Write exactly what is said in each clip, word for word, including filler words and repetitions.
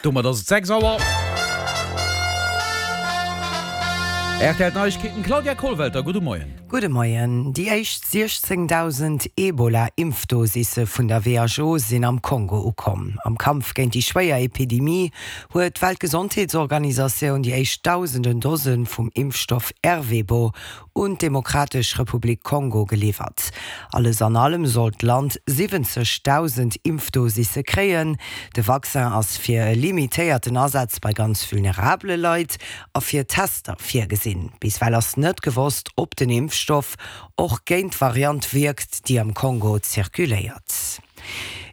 Domat ass et sechs Auer. Rtl Neiegkeeten, Claudia Kollwelter, gudde Moien. Gudde Moien. Déi éischt siechzéngdausend Ebola-Impfdosisse vun der W H O sinn am Kongo ukomm. Am Kampf géint déi schwéier Epidemie huet d'Weltgesondheetsorganisatioun déi éischt dausenden Dose vum Impfstoff Ervebo un d'Demokratesch Republik Kongo geliwwert. Alles an allem soll d'Land siwwenzegdausend Impfdosisse kréien. De Vaccin ass fir e limitéierten Asaz bei ganz vulnerabele Leit a fir Tester virgesinn. Bis ewell ass net gewosst, ob den Impfstoff och géint d'Variant wierkt, déi am Kongo zirkuléiert.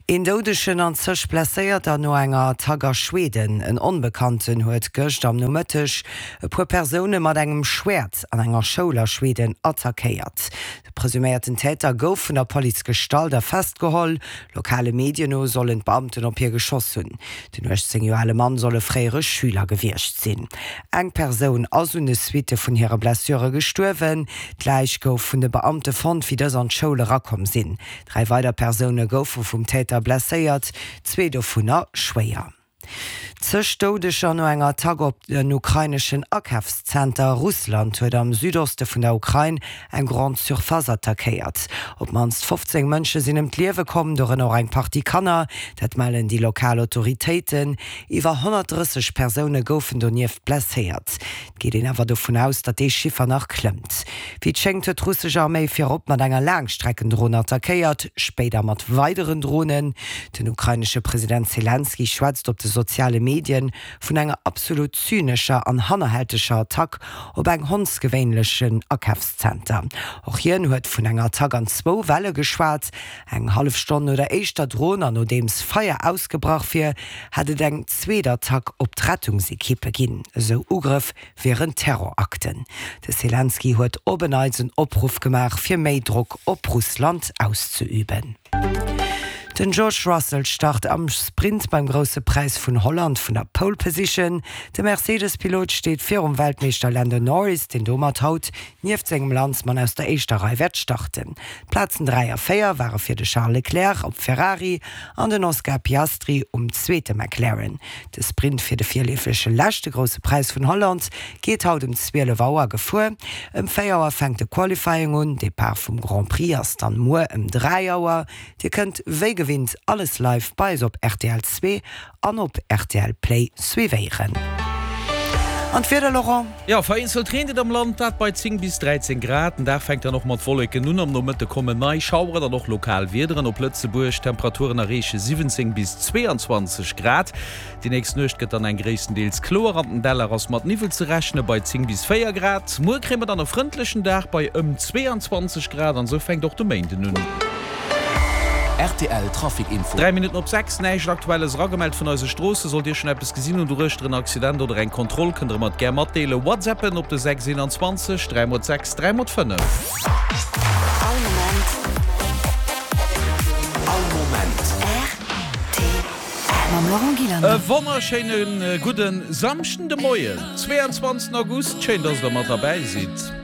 Een Doudegen an zeg Blesséierter no enger Attack a Schweden. En Onbekannten huet gëscht am Nomëtteg e puer Persoune mat engem Schwäert an enger Schoul a Schweden attackéiert. De presuméierten Täter gouf vun der Police gestallt a festgeholl. Lokale Medien no sollen d'Beamten op hie geschoss hunn. Den uechtzéng Joer ale Mann soll e fréiere Schüler gewiescht sinn. Eng Persoun ass un de Suitte vun hire Blessure gestuerwen. D'Läich gouf vun de Beamte fonnt, wéi dës an d'Schoul erakomm sinn. Dräi weider Persoune goufe vum Täter blesséiert, zwee dovunner schwéier. Zeg Doudeger no enger Attack op en ukraineschen Akafszenter. Russland huet am Südoste vun der Ukrain eng Grande Surface attackéiert. Op d'mannst fofzéng Mënsche sinn ëm d'Liewe komm, dorënner och eng Partie Kanner. Dat mellen déi lokal Autoritéiten. Iwwer honnertdrësseg Persoune goufen donieft blesséiert. Et geet een awer dovun aus, datt dee Chiffer nach klëmmt. Wéi et schéngt, huet d'russesch Arméi virop mat enger Laangstreckendron attackéiert, spéider mat weideren Dronen. Den ukrainesche President Selenskyj schwätzt op de soziale Medien vun enger absolut zynescher an hannerhälteger Attack op eng hondsgewéinlechen Akafszenter. Och hien huet vun enger Attack an zwou Welle geschwat. Eng hallef Stonn no der éischter Dron an nodeems Feier ausgebrach wier, hätt et eng zweet Attack op d'Rettungsekippe ginn. Esou Ugrëff wieren Terrorakten. De Selenskyj huet op en Neits en Opruff gemaach, fir méi Drock op Russland auszeüben. Den George Russell start am Sprint beim Grousse Präis vun Holland vun der Pole Position. De Mercedes-Pilot steet virum Weltmeeschter Lando Norris, deen domat haut nieft sengem Landsmann aus der éischter Rei wäert starten. D'Plazen dräi a véier ware fir de Charles Leclerc op Ferrari an den Oscar Piastri um zweete McLaren. De Sprint fir de virleefege leschte Grousse Präis vun Holland geet haut ëm zwielef Auer gefuer. Ëm véier Auer fänkt de Qualifying un, Depart vum Grand Prix ass dann muer ëm dräi Auer. Dir kënnt wéi gewinnt alles live bei eis op R T L zwee an op R T L Play suivéieren. An d'Wieder, Laurent? Jo, vereenzelt reent et am Land, dat bei zéng bis dräizéng Grad. Den Dag fänkt dann och mat Wolleken un, am Nomëtte kommen nei Schaueren an och lokal Wiederen op Lëtzebuerg. D'Temperaturen erreeche siwwenzéng bis zweeanzwanzeg Grad. Déi nächst Nuecht gëtt dann eng gréisstendeels kloer, an den Däller ass mat Niwwel ze rechne bei zéng bis véier Grad. Muer kréie mer dann e frëndlechen Dag bei ëm zweeanzwanzeg Grad an esou fänkt och de Méinden un. R T L Trafic Info. Dräi Minutten op sechs, Näischt Aktuelles eragemellt vun eise Stroossen. Sollt Dir schonn eppes gesinn hunn doruechter, en Accident oder eng Kontroll, kënnt Der mer et gär matdeelen. Whatsappen op de sechs eenanzwanzeg dräi mol sechs dräi mol fënnef. All Moment. All Moment. R T L. Mam Laurent Gillander. E wonnerschéine gudde Samschden de Moien, zweeanzwanzegsten August. Schéin, dass Der mat derbäi sidd.